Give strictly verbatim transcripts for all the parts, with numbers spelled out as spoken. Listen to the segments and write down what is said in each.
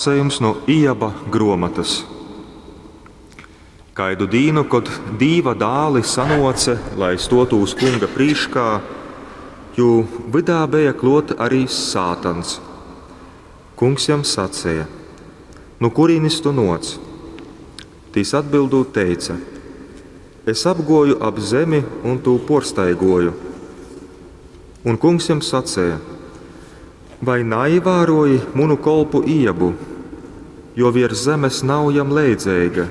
Lasejums nu Ijaba gruomotys. Kaidu dīnu, kod Dīva dāli sanuoce, lai stuotūs Kunga prīškā, jū vydā beja kluot ari sātans. Kungs jam saceja: Nu kurīnis tu nuoc? Tys atbildūt teice: Es apguoju ap zemi un tū puorstaiguoju. Un Kungs jam saceja: Vai naīvāruoji munu kolpu Ijabu, jo viers zemes nav jam leidzeiga?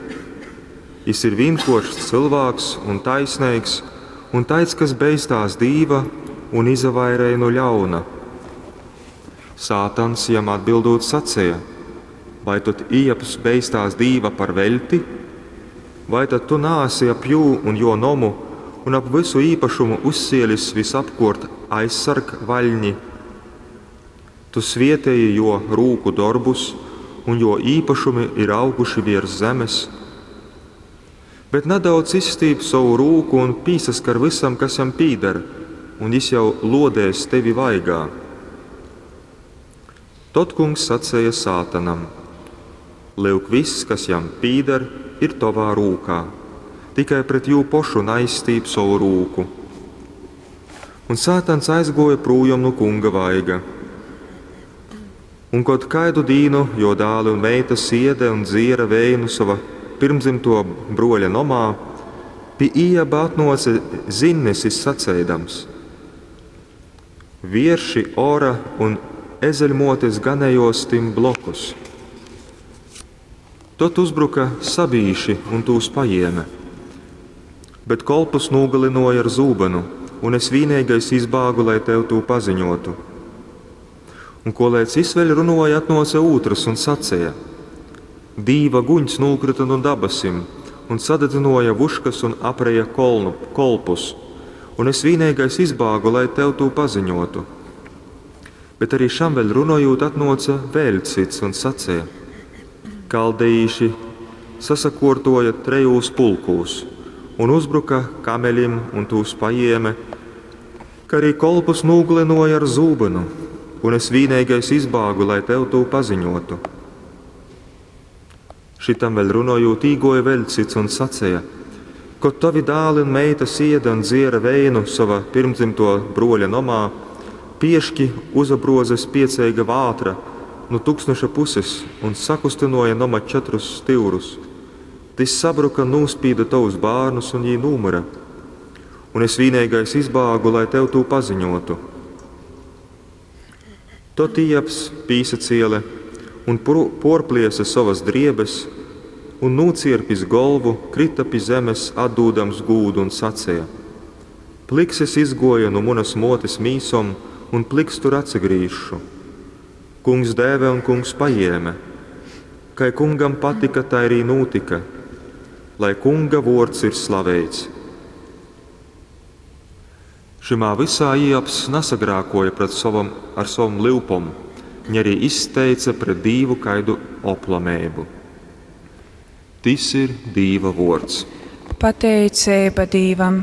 Jis ir vīnkuoršs cylvāks un taisneigs, un taids, kas beistās Dīva un izavairej nu ļauna. Sātans jam atbildūt saceja: Vai tod Ijabs beistās Dīva par veļti? Vai tad tu naesi ap jū un juo nomu un ap vysu īpašumu uzcielis vysapkuort aizsargvaļni? Tu svieteji juo rūku dorbus, un juo īpašumi ir auguši viers zemes. Bet nadaudz izstīp sovu rūku un pīsaskar vysam, kas jam pīdar, un jis jau luodēs tevi vaigā. Tod Kungs saceja sātanam: Lyuk, viss, kas jam pīdar, ir tovā rūkā. Tikai pret jū pošu naizstīp sovu rūku. Un sātans aizguoja prūjom nu Kunga vaiga. Un kod kaidu dīnu juo dāli un meitas iede un dziera veinu sova pyrmdzymtuo bruoļa nomā, pi Ijaba atnuoce zinnesis saceidams: Vierši ora un ezeļmuotes ganejuos tim blokus. Tod uzbruka sabīši un tūs pajēme. Bet kolpus nūgalynuoja ar zūbynu, un es vīneigais izbāgu, lai tev tū paziņuotu. Un koleidz jis vēļ runuoja, atnuoce ūtrys un saceja: Dīva guņs nūkryta nu dabasim un sadadzynuoja vuškas un apreja kolnu, kolpus, un es vīneigais izbāgu, lai tev tū paziņuotu. Bet arī šam vēļ runojūt, atnuoce vēļ cyts un saceja: Kaldejīši sasakuortuoja trejūs pulkūs un uzbruka kameļim un tūs pajēme, ka arī kolpus nūgalynuoja ar zūbynu, un es vīneigais izbāgu, lai tev tū paziņuotu. Šitam vēļ runojūt, īguoja vēļ cyts un saceja: Kod tovi dāli un meitas ieda un dziera veinu sova pyrmdzymtuo bruoļa nomā, pieški uzabruoze spieceiga vātra nu tuksneša puses un sakustynuoja noma četrus styurus. Tys sabruka un nūspīde tovus bārnus, un jī nūmyra. Un es vīneigais izbāgu, lai tev tū paziņuotu. Tod Ijabs pīsaciele un puorpliese sovas driebes un, nūcierpis golvu, kryta pi zemes, atdūdams gūdu, un saceja: Plyks es izguoju nu munas muotes mīsom, un plyks tur atsagrīzšu. Kungs deve un Kungs pajēme. Kai Kungam patika, tai arī nūtika. Lai Kunga vuords ir slaveits. Šymā vysā Ijabs nasagrākuoja pret sovom, ar sovom lyupom, ņi arī izteice pret Dīvu kaidu oplameibu. Tys ir Dīva vuords. Pateiceiba Dīvam.